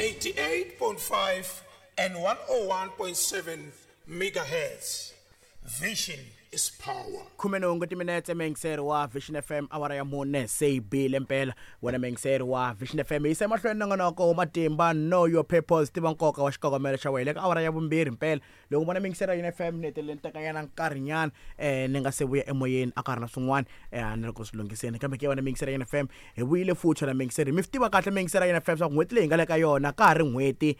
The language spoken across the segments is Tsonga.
88.5 and 101.7 megahertz. Vision is power. 18 timinetse, meyingiseri wa Vision FM, awara ya 4 se yi bile mpela. Wena meyingiseri wa Vision FM, yisa emahlweni nongonoko wa matimba, Know Your Purpose, tiva nkoka wa xikongomelo xa wena, eka awara ya 2 mpela. Loko vona meyingiseri ya FM, ni hetelele ni tekanyana nkarhinyana ni nga se vuya emoyeni, a ka ri na swin'wana a ni ri ku swi lunghiseni, kambe ke wena meyingiseri ya FM, hi vuyile futhi. Wena meyingiseri, mi swi tiva kahle meyingiseri ya FM swa ku n'hweti leyi hi nga le ka yona ka ha ri n'hweti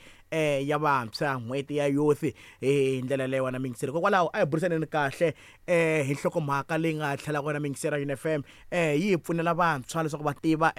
ya vantshwa, n'hweti ya youth hi ndlela leyi. Wena meyingiseri, hikokwalaho a hi burisaneni kahle hi nhlokomhaka leyi nga tlhelaka wena meyingiseri ya FM, yi hi pfunela vantshwa leswaku va tiva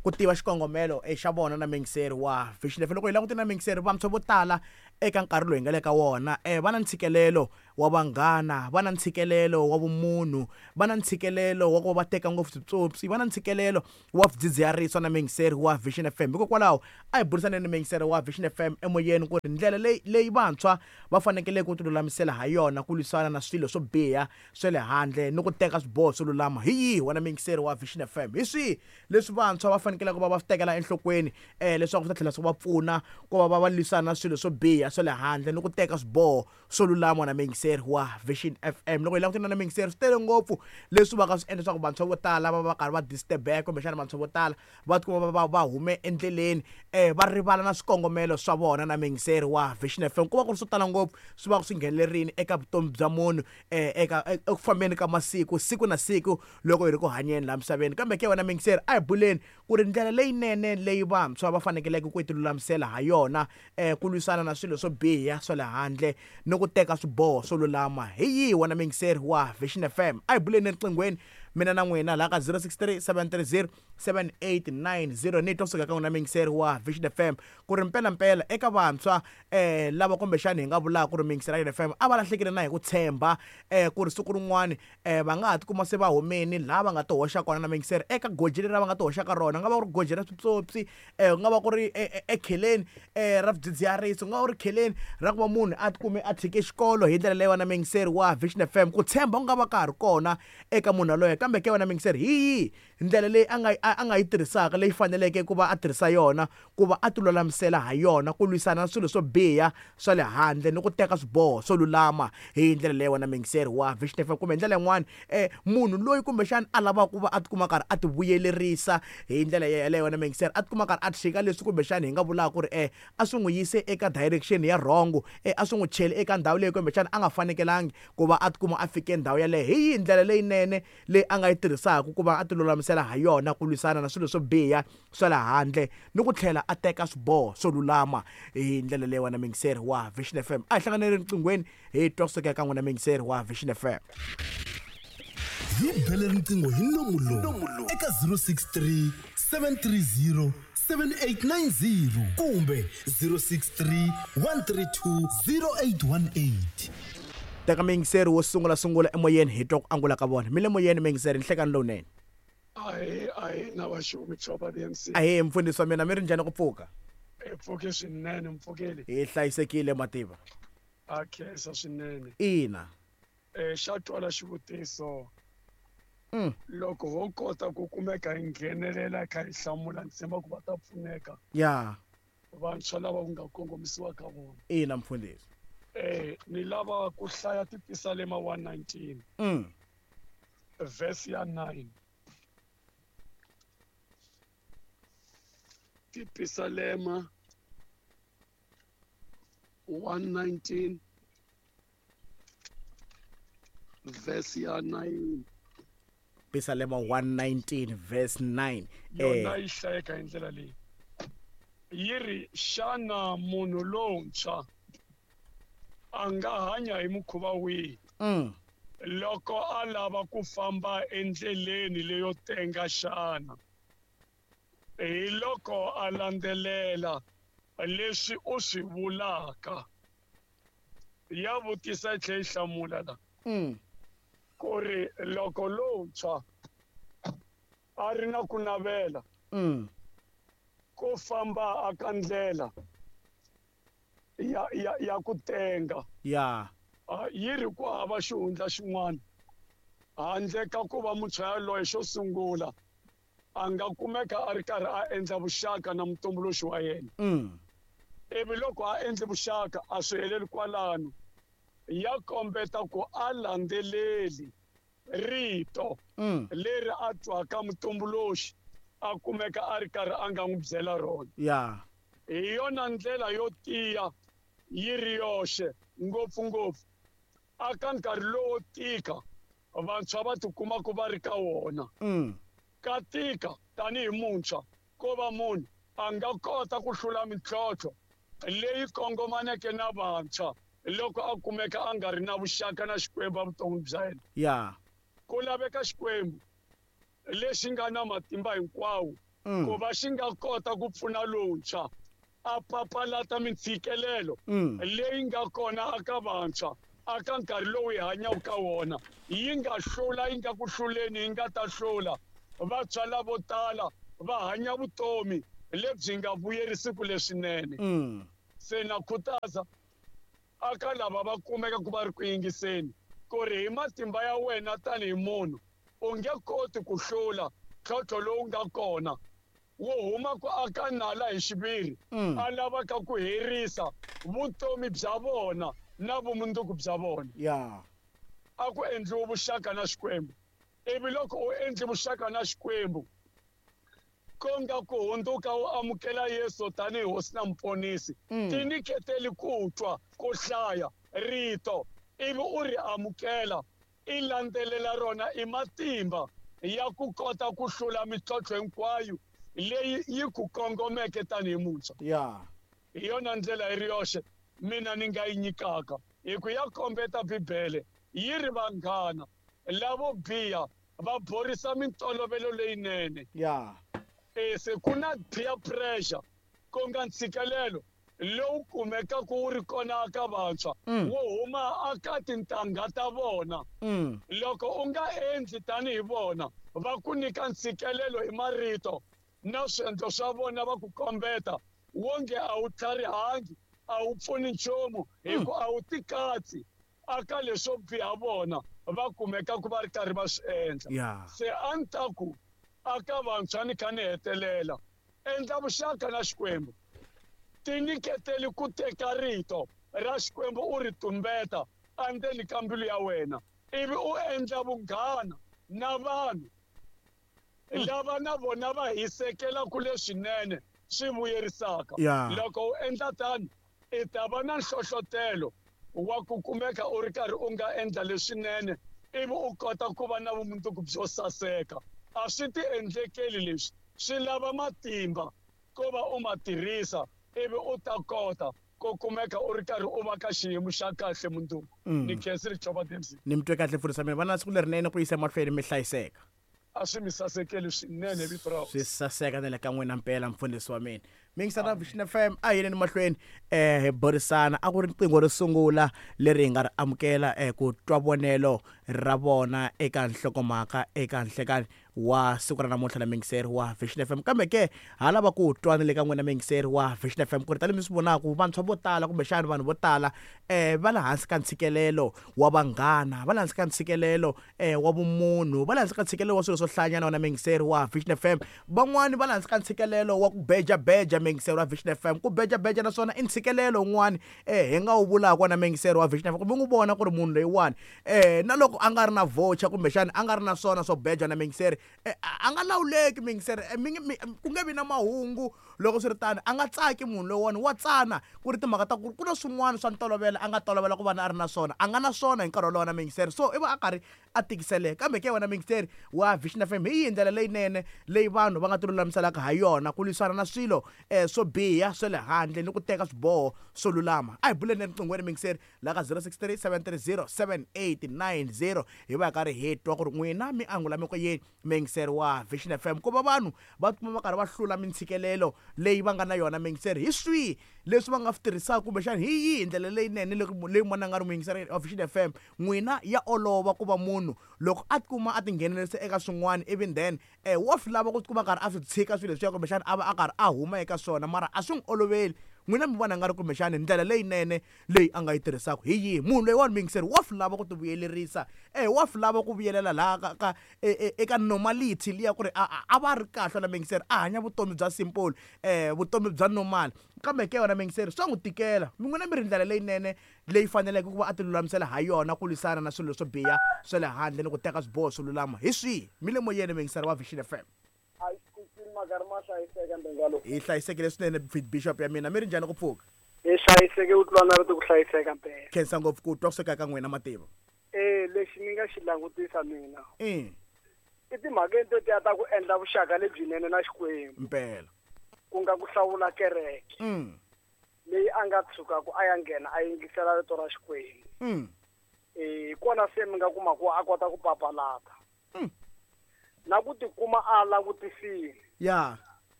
ku tiva xikongomelo xa vona na meyingiseri wa Vision FM. Loko hi langutile na meyingiseri, vantshwa vo tala eka nkarhi lowu hi nga le ka wona va na ntshikelelo wa vanghana, va na ntshikelelo wa vumunhu, va na ntshikelelo wa ku va va teka ngopfu switsotsi, va na ntshikelelo wa swidzidziharisi na meyingiseri wa Vision FM. Hikokwalaho a hi burisaneni meyingiseri wa Vision FM emoyeni ku ri ndlela leyi leyi vantshwa va fanekele ku tilulamisela ha yona ku lwisana na swilo swo biha swa le handle ni ku teka swiboho swo lulama hi yihi. Wena meyingiseri wa Vision FM, hi swihi leswi vantshwa va fanekele ku va va swi tekela enhlokweni leswaku swi ta tlhela swi va pfuna ku va va va lwisana na swilo swo biha swa le handle ni ku teka swiboho swo lulama na meyingiseri wa Vision FM? Loko hi langutana na meyingiseri, swi tele ngopfu leswi va ka swi endla leswaku vantshwa vo tala va va karhi va disturbeka, kumbexana vantshwa vo tala va tikuma va va va hume endleleni, va rivala na swikongomelo swa vona na meyingiseri wa Vision FM. Ku va ku ri swo tala ngopfu swi va swi nghenelerile eka vutomi bya munhu eka eku fambeni ka masiku, siku na siku loko hi ri ku hanyeni laha misaveni. Kambe ke wena meyingiseri, a hi buleni ku ri ndlela leyinene leyi vantshwa va fanekeleke ku ti lulamisela ha yona ku lwisana na swilo swo biha swa le handle ni ku teka swiboho swo lulama hi yihi. Wena meyingiseri wa Vision FM, a hi buleni eriqinghweni mina na n'wina laha ka 063 730 7890. Ni twa kusuka ka n'wina meyingiseri wa Vision FM ku ri mpelampela eka vantshwa lava kumbexani hi nga vulaka ku ri meyingiseri ya FM a va lahlekile na hi ku tshemba ku ri siku rin'wani va nga ha tikuma se va humini laha va nga ti hoxa kona na meyingiseri eka goji leri va nga ti hoxa ka rona, nga va ku ri goji ra switsotsi, ku nga va ku ri ekheleni ra swidzidziharisi, ku nga va ku ri kheleni ra ku va munhu a tikume a tshike xikolo hi ndlela leyi. Wena meyingiseri wa Vision FM, ku tshemba ku nga va ka ha ri kona eka munhu yaloye, kambe ke wena meyingiseri, hi yihi ndlela leyi a nga a nga yi tirhisaka leyi faneleke ku va a tirhisa yona ku va a ti lulamisela ha yona ku lwisana na swilo swo biha swa le handle ni ku teka swiboho swo lulama hi ndlela leyi, wena meyingiseri wa Vision FM? Kumbe hi ndlela yin'wani, munhu loyi kumbexana a lavaka ku va a tikuma karhi a ti vuyelerisa hi ndlela yeleyo, wena meyingiseri, a tikuma karhi a tshika leswi kumbexana hi nga vulaka ku ri a swi n'wi yise eka direction ya wrong, a swi n'wi cheli eka ndhawu leyi kumbexana a nga fanekelangi ku va a tikuma a fike ndhawu yaleyo, hi yihi ndlela leyinene leyi a nga yi tirhisaka ku va a ti lulamisela ha yona ku lwisana na swilo swo biha swa le handle ni ku tlhela a teka swiboho swo lulama hi ndlela leyi, wena meyingiseri wa Vision FM? A hi hlanganele riqinghweni hi twa kusuka eka n'wina meyingiseri wa Vision FM. Hi bele riqingho hi nomu lowu eka 063 730 7890 kumbe 063 132 0818. Teka meyingiseri wo sungula sungula emoyeni, hi twa ku angula ka vona. Mi le moyeni meyingiseri, nhlekani lowunene. Ahe, ahe na vaxumi Chopa DMC. Ahe mfundhisi wa mina, mi ri njhani ku pfuka? Hi pfuke swinene, mpfukeli. Hi hlayisekile mativa. A khensa swinene. Ina. Xa twala xivutiso. Loko ho kota ku kumeka hi nghenelela kha hi hlamula, ni tshemba ku va ta pfuneka. Ya. Vantshwa lava ku nga kongomisiwa ka vona. Ina mfundhisi. Ni lava ku hlaya Tipisalema 119. Verse ya 9. Tipisalema 119 verse ya 9. Pisalema 119 verse 9. Yona yi hlayeka hi ndlela leyi, yi ri: xana munhu lontshwa a nga hanya hi mukhuva wihi loko a lava ku famba endleleni leyo tenga xana? Hi loko a landzelela leswi u swi vulaka. Ya vutisa yi tlhela yi hlamula la ku ri loko lontshwa a ri na ku navela ku famba aka ndlela ya ku tenga, ya yi ri ku hava xihundla xin'wana handle ka ku va muntshwa yaloye xo sungula a nga kumeka a ri karhi a endla vuxaka na mutumbuluxi wa yena. Ivi loko a endle vuxaka a swi heleli kwalano, ya kombeta ku a landzeleli rito leri a twaka mutumbuluxi a kumeka a ri karhi a nga n'wi byela rona. Hi yona ndlela yo tiya yi ri yoxe, ngopfungopfu aka nkarhi lowo tika vantshwa va tikumaka va ri ka wona. Ka tika tanihi muntshwa ko va munhu a nga kota ku hlula mintlhontlho leyi kongomaneke na vantshwa loko a kumeka a nga ri na vuxaka na Xikwembu evuton'wini bya yena. Ku laveka Xikwembu lexi nga na matimba hinkwawo ku va xi nga kota ku pfuna lontshwa a papalata mintshikelelo leyi nga kona aka vantshwa aka nkarhi lowu hi hanyaka ka wona. Yi nga hlula, yi nga ku hluleni, yi nga ta hlula. Vantshwa lavo tala va hanya vutomi lebyi nga vuyerisiku leswinene. Se na khutaza aka lava va kumeka ku va ri ku yingiseni ku ri hi matimba ya wena tanihi munhu u nge koti ku hlula ntlhontlho lowu nga kona wo huma ku aka nala hi xiviri a lavaka ku herisa vutomi bya vona na vumundzuku bya vona. A ku endliwe vuxaka na Xikwembu. Ivi loko u endle vuxaka na Xikwembu, ko nga ku hundzuka u amukela Yesu tanihi hosi na muponisi, tinyiketeli ku twa, ku hlaya rito, ivi u ri amukela, i landzelela rona i matimba ya ku kota ku hlula mintlhontlho hinkwayo leyi yi ku kongomeke tanihi muntshwa. Hi yona ndlela yi ri yoxe mina ni nga yi nyikaka, hi ku ya kombeta Bibele yi ri vanghana lavo biha va borisa mintolovelo leyinene. Se ku na peer pressure, ku nga ntshikelelo lowu kumekaka wu ri kona aka vantshwa wo huma aka tintangha ta vona. Loko u nga endli tanihi vona, va ku nyika ntshikelelo hi marito na swiendlo swa vona, va ku kombeta wonge a wu tlharihangi, a wu pfuni nchumu, hi ku a wu tikatsi aka leswo biha vona va kumeka ku va ri karhi va swi endla. Se a ni ta ku aka vantshwa ni kha ni hetelela, endla vuxaka na Xikwembu, tinyiketeli ku teka rito ra Xikwembu u ri tumbeta endzeni ka mbilu ya wena, ivi u endla vunghana na vanhu lava na vona va hisekela ku leswinene swi vuyerisaka. Loko u endla tano, i ta va na nhlohlotelo wa ku kumeka u ri karhi u nga endla leswinene, ivi u kota ku va na vumundzuku byo saseka. A swi ti endlekeli leswi, swi lava matimba ko va u ma tirhisa, ivi u ta kota ku kumeka u ri karhi u va ka xiyimo xa kahle mundzuku. Ni khensile Chova Dempsey. Ni mi twe kahle mfundhisi wa mina. Va na siku lerinene ku yisa emahlweni mi hlayiseka. A swi mi sasekeli swinene vito ra Swi saseka na le ka n'wina mpela mfundhisi wa mina. Mingisana Vision FM, a hi yeni mahlweni hi burisana. A ku ri riqingho ro sungula leri hi nga ri amukela ku twa vonelo ra vona eka nhlokomhaka eka nhlekani wa siku ra namuntlha na mingiseri wa Vision FM. Kambe ke ha lava ku twa ni le ka n'wina mingiseri wa Vision FM ku ri tanihi mi swi vonaka vantshwa vo tala kumbexana vanhu vo tala va le hansi ka ntshikelelo wa vanghana, va le hansi ka ntshikelelo wa vumunhu, va le hansi ka ntshikelelo wa swilo swo hlayanyana wena mingiseri wa Vision FM. Van'wani va le hansi ka ntshikelelo wa ku bejabeja mingiseri wa Vision FM. Ku bejabeja naswona i ntshikelelo wun'wani hi nga wu vulaka wena mingiseri wa Vision FM, kumbe n'wi vona ku ri munhu loyiwani na loko a nga ri na voucher kumbexana a nga ri na swona swo beja na mingiseri, a nga lawuleki mingiseri, ku nge vi na mahungu loko swi ri tano, a nga tsaki munhu loyiwani, wa tsana ku ri timhaka ta ku ku na swin'wana swa ntolovelo a nga tolovela ku va na a ri na swona, a nga na swona hi nkarhi wolowo na mingiseri, so i va a karhi a tikiseleka. Kambe ke wena mingiseri wa Vision FM, hi yihi ndlela leyinene leyi vanhu va nga ti lulamiselaka ha yona ku lwisana na swilo swo biha swa le handle ni ku teka swiboho swo lulama? A hi buleni eriqinghweni mingiseri la ka 063 730 7890, hi va hi karhi hi twa ku ri n'wina mi angula mi ku yini mingiseri wa Vision FM ku va vanhu va tikuma va karhi va hlula mintshikelelo leyi va nga na yona mingiseri, hi swihi leswi va nga swi tirhisaka kumbexana hi yihi ndlela leyinene leyi munhu a nga ri muyingiseri wa Vision FM n'wina ya olova ku va munhu loko a tikuma a tinghenelerisa eka swin'wana, even then wa swi lava ku tikuma a karhi a swi tshika swilo leswiya kumbexana a va a karhi a huma eka swona, mara a swi n'wi oloveli. N'wina mi vona nga ri kumbexani ndlela leyinene leyi a nga yi tirhisaka hi yihi? Munhu loyiwani muyingiseri wa swi lava ku ti vuyelerisa, wa swi lava ku vuyelela laha ka ka eka normality liya ku ri a a va ri kahle na muyingiseri, a hanya vutomi bya simple, vutomi bya normal. Kambe ke wena muyingiseri swa n'wi tikela. N'wina mi ri ndlela leyinene leyi faneleke ku va a ti lulamisela ha yona ku lwisana na swilo swo biha swa le handle ni ku teka swiboho swo lulama hi swihi? Mi le moyeni muyingiseri wa Vision FM. Hi hlayisekile swinene bishop ya mina, mi ri njhani ku pfuka? Hi hlayiseke ku tlula na rito ku hlayiseka mpela. Khensa ngopfu ku twa kusuka ka n'wina mativa. Lexi ni nga xi langutisa mina i timhakeni tetiya ta ku endla vuxaka lebyinene na Xikwembu. Mpela. Ku nga ku hlawula kereke leyi a nga tshukaku a ya nghena a yingisela rito ra Xikwembu. Hi kona se mi nga kuma ku a kota ku papalata. Na ku tikuma a langutisile.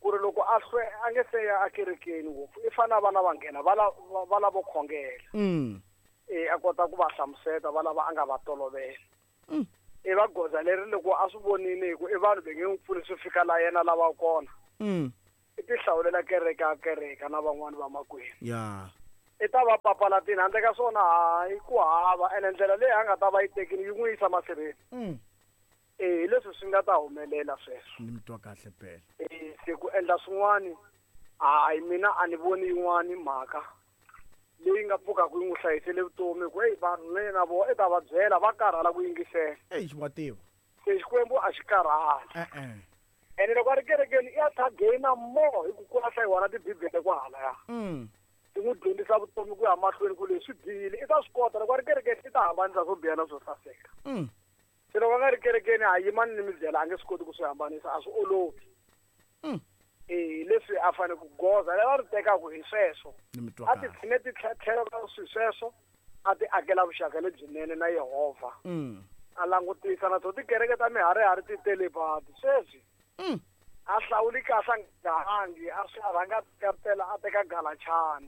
Ku ri loko a hlwe a nge se ya ekerekeni ngopfu, i fanele a va na vanghena va lavo khongela. A kota ku va hlamuseta va lava a nga va tolovela. I va goza leri loko a swi vonile hi ku i vanhu va nge n'wi pfuni swi fika la yena lava kona. I ti hlawulela kereke a kereka na van'wani va makwenu. I ta va papalatini handle ka swona hayi ku hava, ene ndlela leyi a nga ta va yi tekile yi n'wi yisa masirheni. Hi leswi swi nga ta humelela sweswo. Ni mi twa kahle phela. Se ku endla swin'wani, hayi mina a ni voni yin'wani mhaka leyi nga pfukaka yi n'wi hlayisele vutomi, ku eyi vanhu le na vona i ta va byela va karhala ku yingisela. Eyi xi Se Xikwembu a xi karhali. Ene loko a ri kerekeni i ya ta gaina more hi ku ku hlayiwa na tibibele kwahalaya. Ti n'wi dyondzisa vutomi ku ya mahlweni ku leswi bihile i ta swi kota loko a ri kerekeni i ta hambanisa swo biha na swo saseka. Se loko a nga ri kerekeni a yimani ni mi byela a nge swi koti ku swi hambanisa, a swi olovi. Leswi a fanele ku goza leri a ri tekaka hi sweswo. A ti tshine ti tlhelo ka swi sweswo, a ti akela vuxaka lebyinene na Yehovha. A langutisa na to tikereke ta miharihari ti tele badi sweswi. A hlawuli kahle a nga hangi, a swi a rhanga a a teka galachana.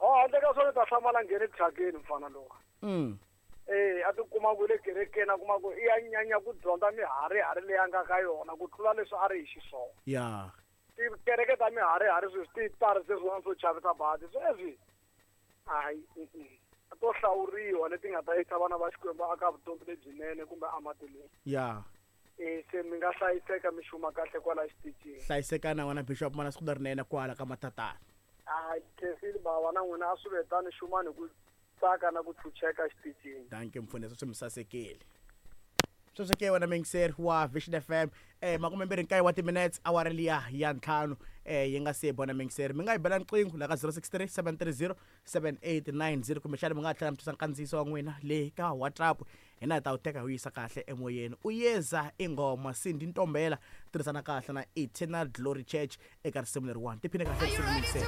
Handle ka swona ta hlamala nghene thyakeni mfana lowa. A ti kuma ku le kerekeni a kuma ku i ya nyanya ku dyondza miharihari leyi a nga ka yona ku tlula leswi a ri hi xiswona. Tikereke ta miharihari sweswi ti tarise swin'wana swo chavisa badi sweswi. Hayi, to hlawuriwa leti nga ta yisa vana va Xikwembu aka vutomi lebyinene kumbe amatilweni. Se mi nga hlayiseka mi xuma kahle kwala xitichini. Hlayiseka na wena Bishop mana siku lerinene kwala ka matatana. Hayi, khensile bava na n'wina a swi ve tani xumani ku tsaka na ku chucheka xitichini. Dankie mfundhisi, swi mi sasekile. Sweswo ke wena muyingiseri wa Vision FM, 29 wa timinutes awara liya ya 5 yi nga se bona muyingiseri. Mi nga yi bela riqingho la ka 063 730 7890 kumbexana mi nga tlhela mi tisa nkandziyiso wa n'wina le ka WhatsApp, hina hi ta wu teka hi wu yisa kahle emoyeni. U yeza ingoma Cindy Ntombela tirhisana kahle na Eternal Glory Church eka risimu leriwani. Tiphine kahle risimu muyingiseri.